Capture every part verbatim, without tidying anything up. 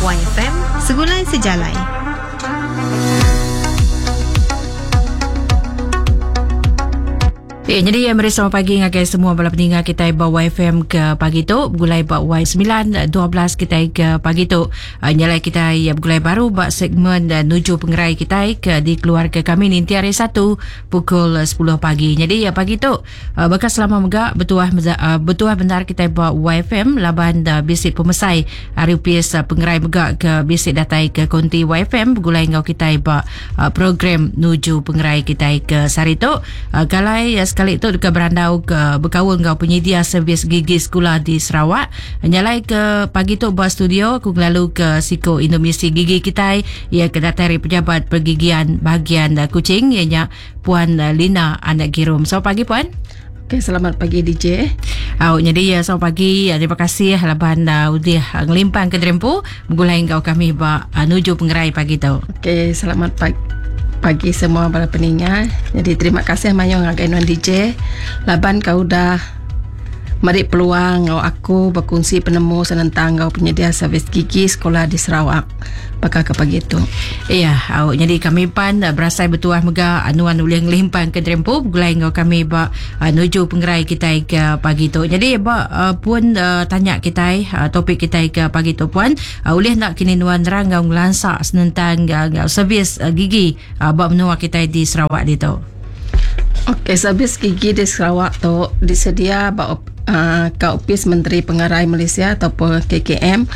Y F M Segulai Sejalai. Eh, jadi ya, meri selamat pagi ngagai semua bala peninggal kita ba Y F M ke pagi tu, begulai ba Y sembilan dua belas kita ke pagi tu. Uh, nyalai kita ya begulai baru ba segmen uh, nuju pengerai kita ke di keluarga kami ninti hari Satu pukul sepuluh pagi. Jadi ya pagi tu uh, bekas selama mega betuah uh, betuah benar kita ba Y F M laban uh, bisik pemesai hari U P S uh, pengerai mega ke bisik datai ke konti Y F M begulai ngau kita ba uh, program nuju pengerai kita ke sehari tu. Uh, kalai uh, sekali tu dekat berandau ke berkaul ngau penyedia servis gigi sekolah di Sarawak. Nyalai ke pagi tu buat studio aku lalu ke Siko Indonesia Gigi kita ia ke datai dari pejabat pergigian bahagian Kuching ianya Puan Lina Anak Girum. Selamat pagi puan. Okey, selamat pagi D J. Oh, jadi ya selamat pagi. Terima kasih laban uh, udah ngelimpang ke Drempu begulai ngau kami ba uh, nuju pengerai pagi tu. Okey, selamat pagi. Pagi semua para peningat. Jadi terima kasih mayong ngagai nuan D J. Laban kau dah meri peluang ngau aku berkongsi penemu senentang ngau penyedia servis gigi sekolah di Sarawak. Bakal ke pagi tu. Iya, au jadi kami pan berasai bertuah mega anuan ulih ngelimpang ke Drempu begulai ngau kami ba nuju pengerai kita ke pagi tu. Jadi ba pun uh, tanya kita uh, topik kita ke pagi tu puan, uh, ulih nak kini nuan nerang ngau ngelansak senentang uh, servis uh, gigi uh, ba menua kita di Sarawak ditu. Okey, servis gigi di Sarawak tu disedia ba uh, ke Opis Menteri Pengerai Malaysia ataupun K K M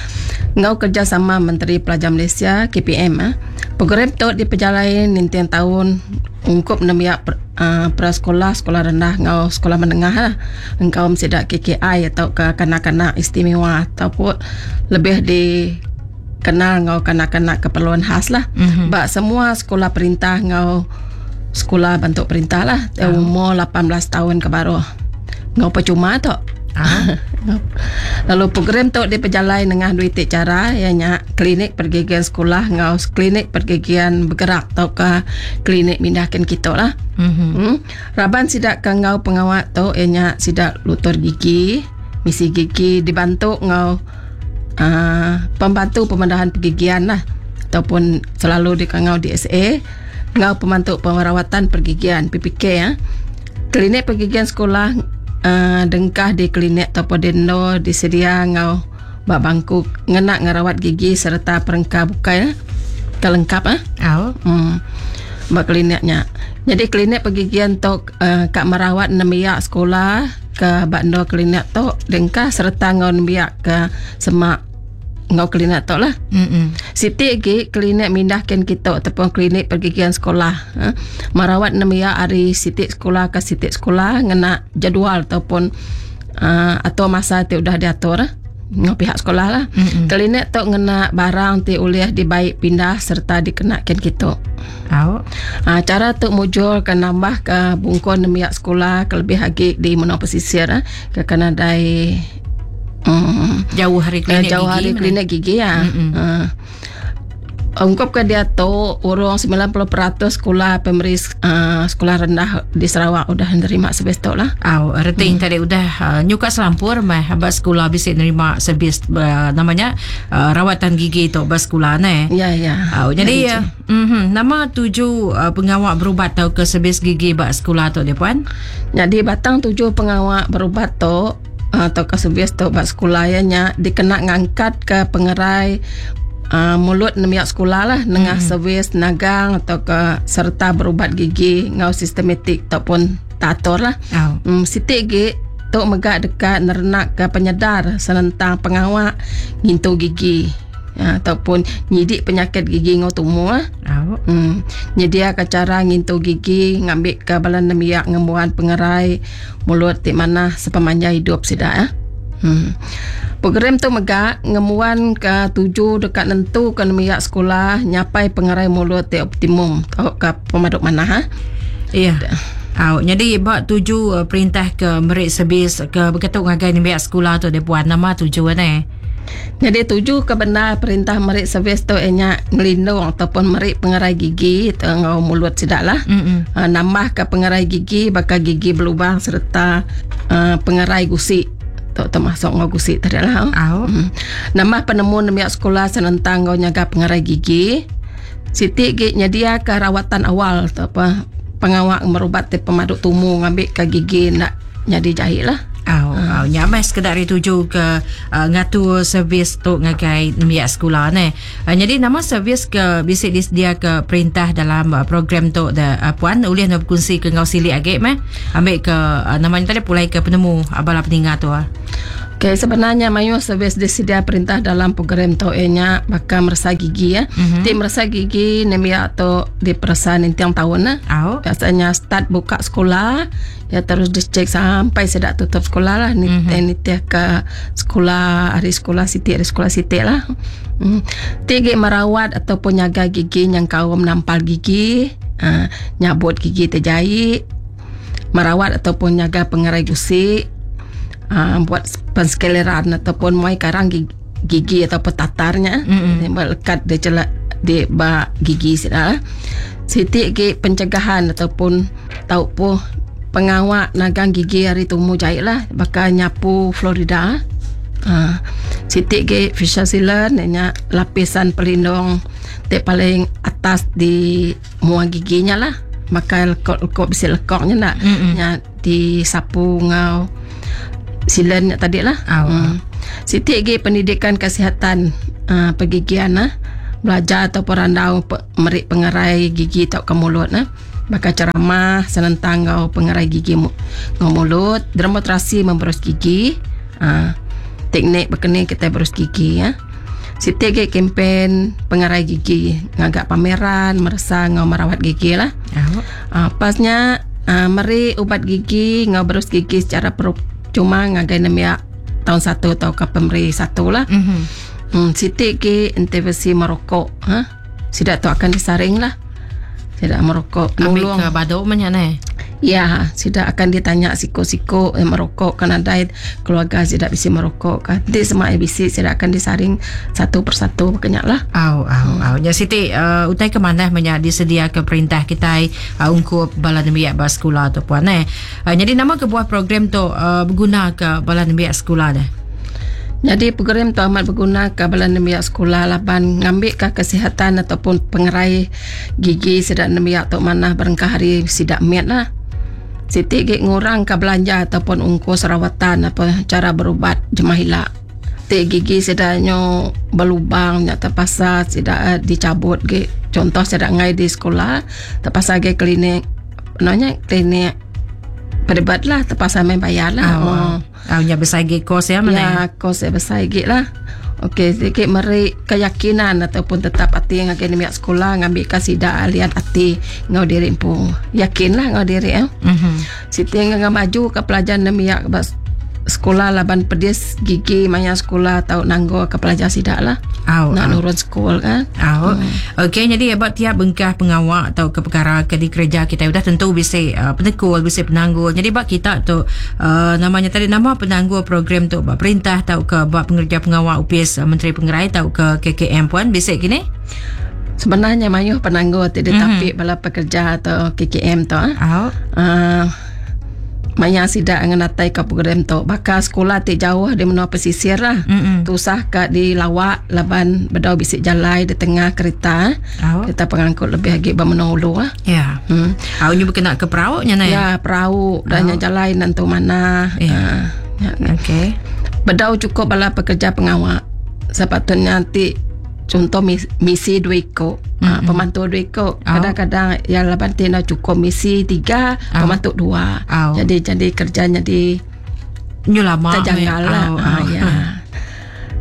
ngau kerjasama Menteri Pelajar Malaysia K P M. Eh. Program tu diperjalai nintian tahun ungkup nemiak uh, prasekolah, sekolah rendah ngau sekolah menengah lah. Engkau mesti K K I atau ke kanak-kanak istimewa ataupun lebih dikenal ngau kanak-kanak keperluan khas lah. Mm-hmm. Bak semua sekolah perintah ngau sekolah bentuk perintah lah, oh. Umur lapan belas tahun ke bawah. Ngau percuma tu. Ah. Lalu program tu diperjalai dengan dua titik cara, ianya klinik pergigian sekolah ngau klinik pergigian bergerak atau ke klinik mindahkan kita lah. Mm-hmm. Hmm. Raban sidak ke ngau pengawat tu ianya sidak lutur gigi, misi gigi dibantu ngau uh, pembantu pemandahan pergigian lah ataupun selalu dikangau D S A ngau pembantu perawatan pergigian P P K ya. Klinik pergigian sekolah Uh, dengkah di klinik ataupun dendo disedia ngau bak bangku ngenak ngerawat gigi serta perengka bukai eh. Kelengkap ah. Oh. Hmm. Bak kliniknya. Jadi klinik pergigian tu uh, kak merawat nemiak sekolah ke bak endo klinik tu dengkah serta ngau nemiak ke semak ngau klinik tu lah. Mm-mm. Siti lagi klinik mindahkan kita ataupun klinik pergigian sekolah. Ha? Merawat nemiak hari siti sekolah ke siti sekolah ngena jadual ataupun uh, atau masa ti udah diatur ngau pihak sekolah lah. Mm-mm. Klinik tu ngena barang ti ulih dibaik pindah serta dikenakan kita. Oh. Ha, cara tu mujur ke nambah ke bungkon nemiak sekolah kelebih lagi di menua pesisir ha? Ke kena dai Hmm. Jauh hari klinik jauh gigi hari mana? Klinik gigi ya. Uh, ungkap ke dia tu urang sembilan puluh peratus sekolah pemeri uh, sekolah rendah di Sarawak udah nerima servis tu lah. Aw, reting hmm. tadi udah uh, nyuka selampur mah abang sekolah bisa nerima servis uh, namanya uh, rawatan gigi tu bas sekolah ne. Ya ya. Aw, jadi ya, uh, mm-hmm, nama tuju uh, pengawak berubat tau ke servis gigi bas sekolah tu dia puan? Jadi batang tuju pengawak berubat tu atau ke servis tu bak sekolah ya nya dikena ngangkat ke pengerai uh, mulut nemiak sekolah lah nengah hmm. servis nagang atau ke serta berubat gigi ngau sistematik ataupun tator lah. Oh. Hmm, sitik gi tu megak dekat nerenak ke penyedar senentang pengawak ngintu gigi ya, ataupun nyidik penyakit gigi ngau tumu lah. Oh. Hmm, nyedia ke cara ngintu gigi ngambil ke balan nemiak ngembuan pengerai mulut ti mana sepemanjang hidup sida ya. Hmm. Program tu megak ngemuan ke tuju dekat nentu ke nemiak sekolah nyapai pengerai mulut ti optimum tau ke pemaduk mana ha. Iya. Aw, jadi bak tuju uh, perintah ke merik servis ke berketuk ngagai nemiak sekolah tu dia buat nama tujuan eh. Jadi tuju ke benar perintah merik servis tu ianya ngelindung ataupun merik pengerai gigi ngau mulut sidak lah. Mm-mm. Uh, nambah ke pengerai gigi bakal gigi berlubang serta uh, pengerai gusik Tu termasuk ngau gusi tadi lah. Au. Hmm. Nambah penemu nembiak sekolah senentang ngau nyaga pengerai gigi. Siti gi nyedia ke rawatan awal tu apa pengawak merubat ti pemaduk tumu ngambil ke gigi nak jadi jahit lah. Au, au nya meh sekedar dituju ke uh, ngatur servis tu ngagai nembiak sekolah ne. Uh, jadi nama servis ke bisi disedia ke perintah dalam uh, program tu da uh, puan ulih nak berkongsi ke ngau silik agi meh. Ambil ke uh, namanya tadi pulai ke penemu abala peninga tu ah. Okey, sebenarnya mayu servis disedia perintah dalam program tu nya bakal merasa gigi ya. Mm-hmm. Ti merasa gigi nembiak tu diperasa nintiang tahun lah. Au. Biasanya start buka sekolah ya terus dicek sampai sedak tutup sekolah lah. Ni mm-hmm. nitiah ke sekolah hari sekolah siti hari sekolah siti lah. Mm. Ti merawat ataupun nyaga gigi yang kaum nampal gigi, uh, nyabut gigi terjahit, merawat ataupun nyaga pengerai gusi. Uh, buat penskeleran ataupun muai karang gigi, gigi atau petatarnya mm-hmm. lekat di celak di ba gigi sida. Siti gi pencegahan ataupun tau po pengawak nagang gigi hari tumu jahit lah bakal nyapu Florida. Uh, siti gi facial sealant nya lapisan pelindung te paling atas di mua giginya lah. Maka lekok-lekok bisi lekoknya nak mm-hmm. nya disapu ngau silen tadi lah. Oh. Hmm. Siti gi pendidikan kesihatan uh, pergigian lah. Belajar atau perandau pe, merik pengerai gigi atau ke mulut lah. Bakal ceramah senentang ngau pengerai gigi mu, ngau mulut, demonstrasi memberus gigi, uh, teknik berkena kita berus gigi ya. Siti gi kempen pengerai gigi, ngagak pameran, merasa ngau merawat gigi lah. Oh. Uh, pasnya uh, meri ubat gigi ngau berus gigi secara per cuma ngagai nembiak tahun satu atau ke pemeri satu lah. Mm-hmm. Hmm, siti ke intervensi merokok, ha? Sidak tu akan disaring lah. Sidak merokok. Ambil Nulung. ke baduk banyak ni. Ya, sidak akan ditanya siko-siko yang merokok kan ada keluarga sidak bisa merokok kan. Nanti semua A B C sidak akan disaring satu persatu banyak lah. Au au hmm. au. Ya Siti uh, utai ke mana banyak disedia ke perintah kita uh, ungkup bala nembiak ba sekolah tu puan eh. Uh, jadi nama ke buah program tu uh, berguna ke bala nembiak sekolah dah. Jadi program tu amat berguna ke bala nembiak sekolah laban ngambil ke kesihatan ataupun pengerai gigi sidak nembiak tu mana berengkah hari sidak miat lah. Siti gig ngurang ke belanja ataupun ongkos rawatan apa cara berubat jemah hilak. Tik gigi sedaknya berlubang nya terpaksa sidak dicabut gig. Contoh sidak ngai di sekolah terpaksa gig klinik nanya klinik perdebat lah terpaksa main bayar lah. Oh. Oh. Oh, nya besar gig kos ya mana? Ya, kos ya besar gig lah. Okey, sedikit meri keyakinan ataupun tetap hati yang akan nembiak sekolah ngambil kasih dak alian hati ngau diri pun. Yakinlah ngau diri eh. Mhm. Siti ngau maju ke pelajar nembiak sekolah laban pedis gigi maya sekolah atau nanggo ke pelajar sidak lah. Au, nak au. nurun sekolah kan. Au. Hmm. Okey, jadi about tiap bengkah pengawak atau ke perkara ke di kerja kita sudah tentu bisa uh, penekul, bisa penanggul. Jadi bab kita tu uh, namanya tadi nama penanggul program tu bab perintah atau ke bab pengerja pengawak U P S uh, Menteri Pengerai atau ke K K M puan bisa kini? Sebenarnya mayuh penanggul tidak mm-hmm. tapi bala pekerja atau K K M tu ah. Au. Uh, Maya sidak ngenatai ke program tu. Bakal sekolah ti jauh di menua pesisir lah. Mm-mm. Tusah kat di lawak laban bedau bisik jalai di tengah kereta. Oh. Kereta pengangkut lebih lagi bermenua ulu lah. Ya. Hmm. Au nyu berkena ke perahu nya nai. Ya, perahu dan oh. jalai nantu mana. Ya. Uh, ya. Okey. Bedau cukup bala pekerja pengawak. Sepatutnya nanti contoh misi dua ikut, mm-hmm. ha, pembantu dua ikut. Oh. Kadang-kadang yang lapan tina cukup misi tiga, oh. pembantu dua. Oh. Jadi jadi kerjanya di nyu lama terjanggal lah. Oh, ha, oh. Ya.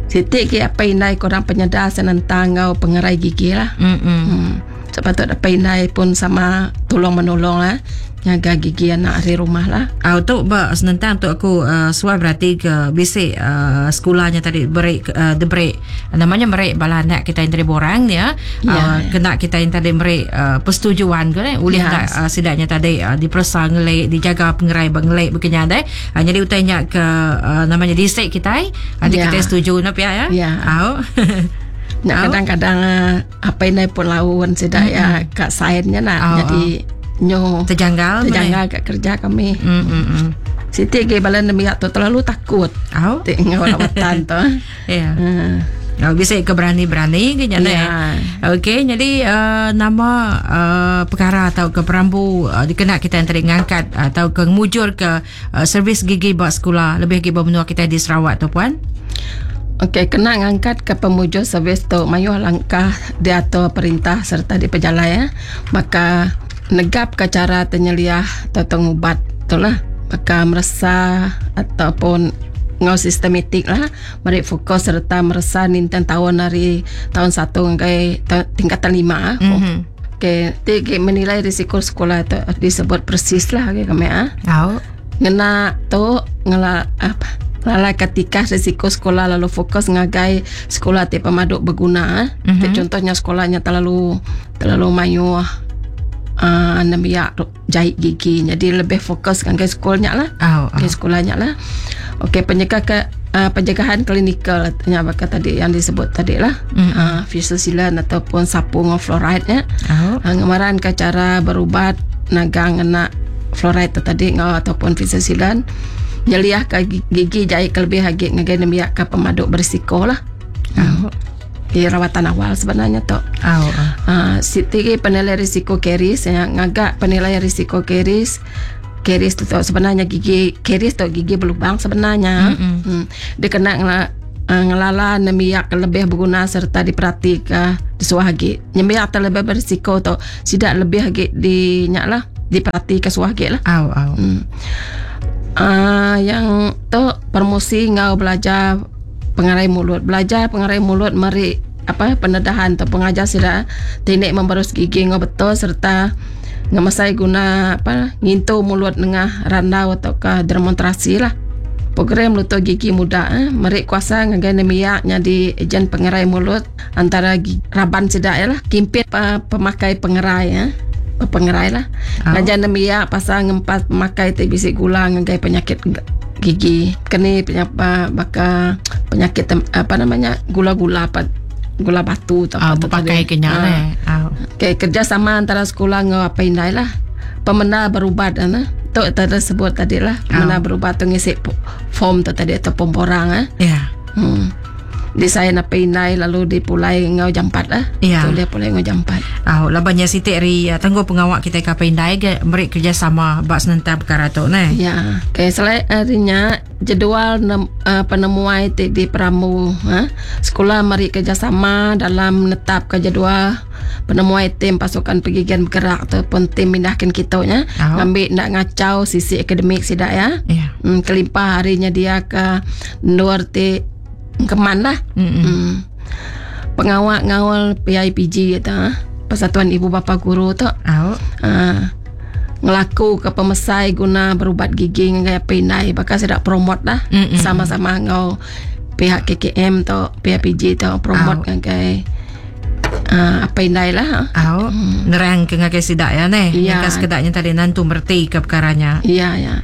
Sitik ke apa indai korang penyedar senentang ngau pengerai gigi lah. Mm-hmm. Hmm. Sepatut apa indai pun sama tolong menolong lah. Jaga gigi anak di rumah lah. Ah tu ba senentang tu aku uh, suai berarti ke bisik uh, sekolahnya tadi break uh, the break namanya merek bala anak kita yang tadi borang ya. Ya, uh, ya. Kena kita yang tadi merek uh, persetujuan ke eh ulih Ya. tak uh, sidaknya tadi uh, dipersa ngelik dijaga pengerai bengelik begini ada. Uh, jadi utainya ke uh, namanya disik kita eh. Nanti Ya. kita setuju nap ya ya. Ya. Au. Nak Au. kadang-kadang apa ini pun lawan sidak ya kat sainnya nak Au, jadi nyo Terjanggal terjanggal kat kerja kami. Hmm mm, mm. Siti ke bala nembiak tu terlalu takut. Au. Ti ngau rawatan tu. Ya. Hmm. Oh, bisa ke berani-berani ke nyana. Ya. Okey, jadi uh, nama uh, perkara atau ke perambu uh, dikena kita yang tadi ngangkat atau ke mujur ke uh, servis gigi buat sekolah lebih lagi bermenua kita di Sarawak tu puan. Okey, kena ngangkat ke pemujur servis tu mayuh langkah diatur perintah serta di pejalai ya. Maka negap ke cara tenyeliah atau tengubat tu lah. Maka meresa ataupun ngau sistematik lah mari fokus serta meresa ninten tahun dari tahun satu hingga tingkatan lima. Mm-hmm. Okey, tiga menilai risiko sekolah tu disebut persis lah okay, kami ah. Oh. Ngena tu ngela apa? Lala ketika risiko sekolah lalu fokus ngagai sekolah ti pemaduk berguna. Mm-hmm. Contohnya sekolahnya terlalu terlalu mayuh uh, nembiak jahit gigi. Jadi lebih fokus ngagai sekolahnya lah. Oh, oh. Okay, sekolahnya lah. Okey, penyegah ke uh, pencegahan klinikal nya bakal tadi yang disebut tadi lah. Mm. Uh, fisusilan ataupun sapu dengan fluoride nya. Oh. Uh, ngemaran ke cara berubat nagang kena fluoride tu tadi ngau ataupun fisusilan. Nyeliah ke gigi jahit kelebih lagi ngagai nembiak ke pemaduk berisiko lah. Oh. Di rawatan awal sebenarnya tu. Oh. Uh, siti penilaian risiko karies yang ngagak penilaian risiko karies. Karies tu sebenarnya gigi karies tu gigi berlubang sebenarnya. Mm-hmm. Hmm. Dia kena ngela, uh, ngelala nemiak lebih berguna serta diperhatikan disuah lagi. Nemiak terlebih berisiko tu tidak lebih lagi di nyak lah diperhatikan suah lagi lah. Au au. Hmm. Uh, yang tu promosi ngau belajar pengarai mulut. Belajar pengarai mulut meri apa pendedahan atau pengajar sida teknik memberus gigi ngau betul serta ngemasai guna apa ngintu mulut nengah randau atau ke demonstrasi lah. Program luto gigi muda eh merik kuasa ngagai nemiak nya di ejen pengerai mulut antara gi, raban sida ya lah kimpit pa, pemakai pengerai eh pengerai lah. Oh. Ngajar nemiak pasal ngempat pemakai ti bisi gula ngagai penyakit gigi. Kini penyapa baka penyakit apa namanya gula-gula apa gula batu atau ah, apa pakai kenyal ah. eh. Ah. Okey, kerjasama antara sekolah ngau apa indai lah. Pemena berubat ana. Tu tadi sebut tadi lah. Pemena Oh. berubat tu ngisi form tu tadi atau pomporang eh. Ya. Hmm. Desain apa indai lalu dipulai ngau jampat lah. Ya. Tu dia pulai ngau jampat. Ah, labannya sitik ri tangguh pengawak kita ke apa indai ke merik kerjasama bak senentang perkara tu ne. Ya. Okey, selain harinya jadual nem, uh, penemuai ti di peramu ha? Sekolah mari kerjasama dalam menetapkan jadual penemuai tim pasukan pergigian bergerak ataupun tim mindahkan kita nya. Oh. Ngambil nak ngacau sisi akademik sidak ya. Ya. Hmm, kelimpah harinya dia ke luar ti keman lah. Mm-mm. Hmm. Pengawak ngawal P I P G itu, ha? Persatuan Ibu Bapa Guru tu. Oh. Ha, ngelaku ke pemesai guna berubat gigi dengan pindai bakal saya dak promote lah. Mm-mm. Sama-sama ngau pihak K K M tu P I P G tu promote Au. ngagai uh, apa indai lah. Au. Nerang ke ngagai sidak ya ne. Ya. Yang sekedaknya tadi nantu merti ke perkaranya. Ya ya.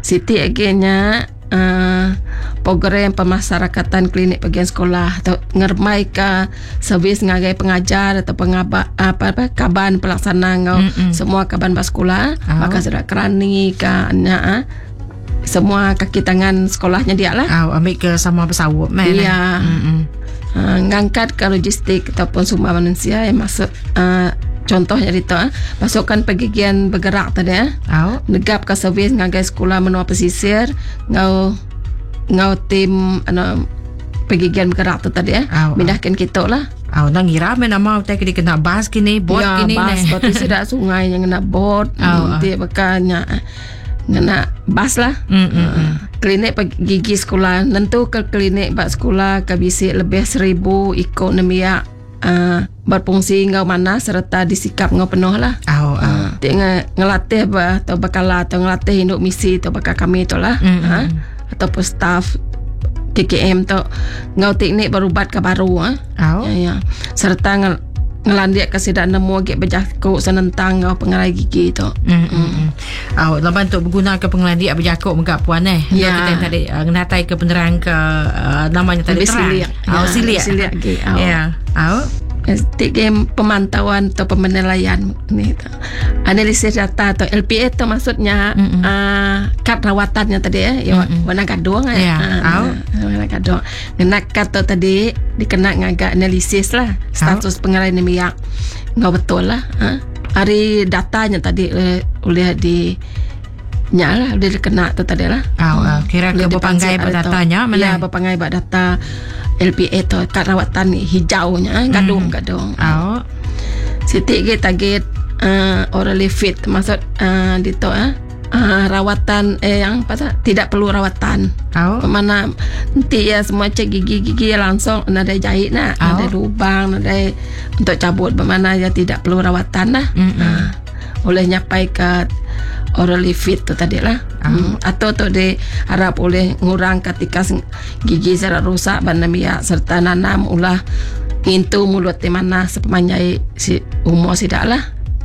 Siti agennya uh, program pemasyarakatan klinik bagian sekolah atau ngermai ke servis ngagai pengajar atau pengaba apa apa kaban pelaksana ngau Mm-mm. semua kaban bas sekolah Oh. maka sudah kerani ke nya ah. Semua kaki tangan sekolahnya dia lah. Au, ambil ke sama bersawup meh. Ya. Mm-mm. Uh, ngangkat ke logistik ataupun sumber manusia yang masuk uh, contohnya itu ah, pasukan pergigian bergerak tadi ah. Au. Negap ke servis ngagai sekolah menua pesisir ngau ngau tim ano pergigian bergerak tu tadi eh Au, au. mindahkan kita lah. Au, nang ngira me nama utai ke kena bas kini, bot ya, kini bas ne. bot tidak sungai yang kena bot Au, au. nanti bekalnya kena bas lah. Mm, mm, mm. Klinik gigi sekolah nentu ke klinik bak sekolah ke bisik lebih seribu ikut nemiak uh, berfungsi ngau mana serta disikap ngau penuh lah. Au, au. Uh, dia nge, ngelatih bah, atau bakal atau ngelatih induk misi atau bakal kami tu lah. Mm, Ha? mm. Ataupun staff K K M tu ngau teknik berubat ke baru ha? Au. Ya, ya. Serta nge, ngelandiak ke sidak nemu gek berjakuk senentang ngau pengerai gigi tu. Mm, mm, mm. Au, laban tu berguna ke pengelandiak berjakuk megak puan eh. Ya. Kita tadi uh, ngenatai ke penerang ke uh, namanya tadi Lebih terang. siliak. Au, Ya, siliak. siliak gigi. Au. Ya. Au. Ti game pemantauan atau penilaian ni tu. Analisis data atau L P A tu maksudnya uh, kad rawatannya tadi eh, ya, warna gadung eh. Ya, Ah, au. warna gadung. Ngena kad tu tadi dikena ngagak analisis lah status pengerai nemiak. Ngau betul lah. Ha? Hari datanya tadi eh, oleh di nya lah boleh dikena tu tadi lah. Au, au. Kira ke Boleh berpanggai dipansik pada hari tu. datanya mana? Ya, berpanggai pada data L P A tu kad rawatan hijaunya eh, gadung gadung. Au. Siti ke target uh, orally fit maksud uh, di tu eh uh, rawatan eh yang apa tak tidak perlu rawatan. Au. Mana nanti ya semua cek gigi-gigi ya langsung ada jahit nak, Au. ada lubang, ada untuk cabut, bermakna ya tidak perlu rawatan lah. Mm-mm. Uh, oleh nyapai ke orally fit tu tadi lah. Hmm. Atau tu diharap oleh ngurang ketika seng- gigi secara rusak banamia serta nanam ulah ngintu mulut di mana sepanjang si umur sidak lah.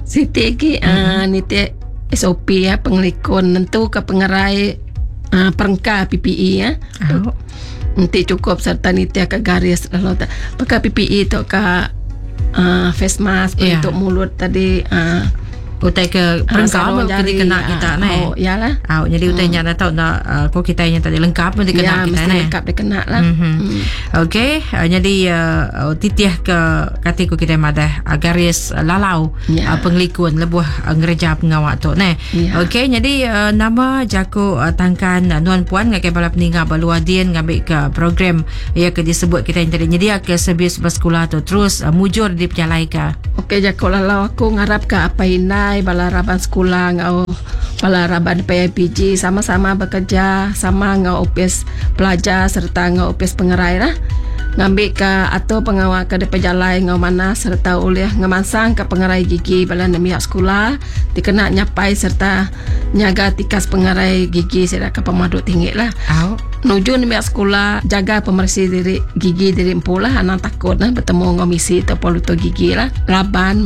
Siti ki mm-hmm. uh, niti S O P ya pengelikun nentu ke pengerai uh, perengka P P E ya. Au. Nanti cukup serta niti ke garis lalu tak pakai P P E tu ke uh, face mask Ya. untuk mulut tadi uh, Utai ke perengka sarung ke jari, dikena ah, kita ne. Oh, yalah. Au, jadi utai nya dah tahu nak uh, ko kita yang tadi lengkap pun dikena Ya, kita mesti ne. lengkap dikena lah. Mm-hmm. Okey, uh, jadi uh, titih ke kati ku kita madah uh, garis uh, lalau Ya. uh, pengelikun lebuh uh, ngereja pengawak tu ne. Ya. Okey, jadi uh, nama jaku uh, tangkan uh, nuan puan ngagai bala peninggal baluadin ngambil ke program ya ke disebut kita yang tadi nyedia ke servis bersekolah tu terus uh, mujur di pejalai ke. Okey, jaku lalau aku ngarap ke apa inai bala raban sekolah ngau bala raban P I P G sama-sama bekerja sama ngau opis pelajar serta ngau opis pengerai lah ngambil ke atau pengawal ke depan jalai ngau mana serta oleh ngemansang ke pengerai gigi bala nemiak sekolah dikena nyapai serta nyaga tikas pengerai gigi serta ke pemaduk tinggi lah. Au. Nuju nemiak sekolah jaga pemersi diri gigi diri empu lah, anak takut lah bertemu dengan misi atau poluto gigi lah laban.